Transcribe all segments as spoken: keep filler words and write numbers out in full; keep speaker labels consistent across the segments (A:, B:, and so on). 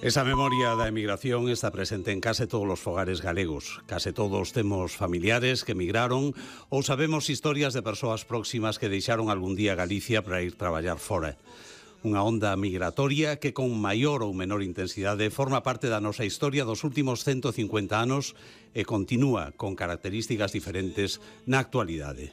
A: Esa memoria da emigración está presente en case todos os fogares galegos. Case todos temos familiares que emigraron ou sabemos historias de persoas próximas que deixaron algún día Galicia para ir traballar fora. Unha onda migratoria que con maior ou menor intensidade forma parte da nosa historia dos últimos ciento cincuenta anos e continúa con características diferentes na actualidade.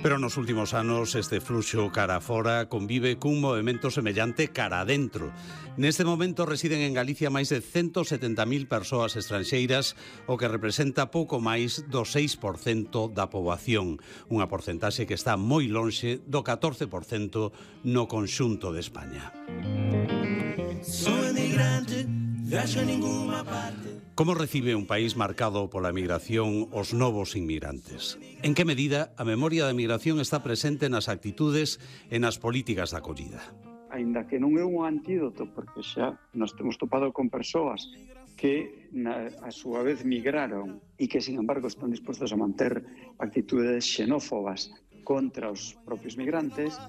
A: Pero nos últimos anos este fluxo cara fora convive cun movimento semellante cara adentro. Neste momento residen en Galicia máis de ciento setenta mil persoas estranxeiras, o que representa pouco máis do seis por cento da poboación, unha porcentaxe que está moi lonxe do catorce por cento no conxunto de España. Soy emigrante, viaxo a ninguna parte. Como recibe un país marcado pola emigración os novos inmigrantes? En que medida a memoria da emigración está presente nas actitudes e nas políticas de acollida?
B: Aínda que non é un antídoto, porque xa nos temos topado con persoas que na, a súa vez migraron e que, sin embargo, están dispostos a manter actitudes xenófobas contra os propios migrantes.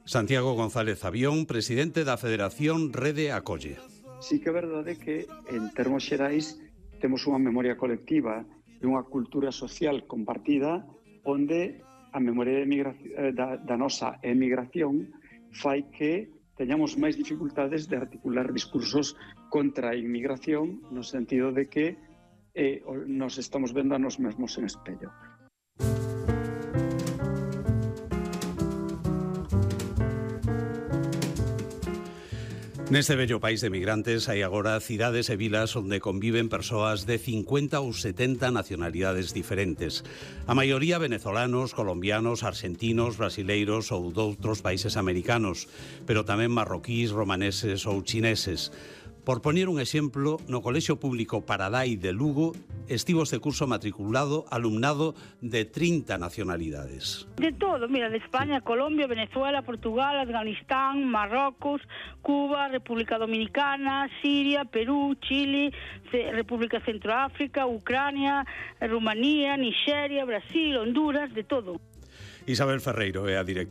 A: Santiago González Avión, presidente da Federación Rede Acolle.
B: Sí que é verdade que, en termos xerais, temos unha memoria colectiva e unha cultura social compartida onde a memoria de da, da nosa emigración fai que teñamos máis dificultades de articular discursos contra a inmigración no sentido de que eh, nos estamos vendo a nos mesmos en espello.
A: Neste bello país de migrantes hai agora cidades e vilas onde conviven persoas de cincuenta ou setenta nacionalidades diferentes. A maioría venezolanos, colombianos, argentinos, brasileiros ou doutros países americanos, pero tamén marroquís, romaneses ou chineses. Por poñer un exemplo, no Colexio Público Paradai de Lugo estivo este curso matriculado alumnado de trinta nacionalidades.
C: De todo, mira, de España, Colombia, Venezuela, Portugal, Afganistán, Marrocos, Cuba, República Dominicana, Siria, Perú, Chile, República Centroáfrica, Ucrania, Rumanía, Nigeria, Brasil, Honduras, de todo.
A: Isabel Ferreiro é a directora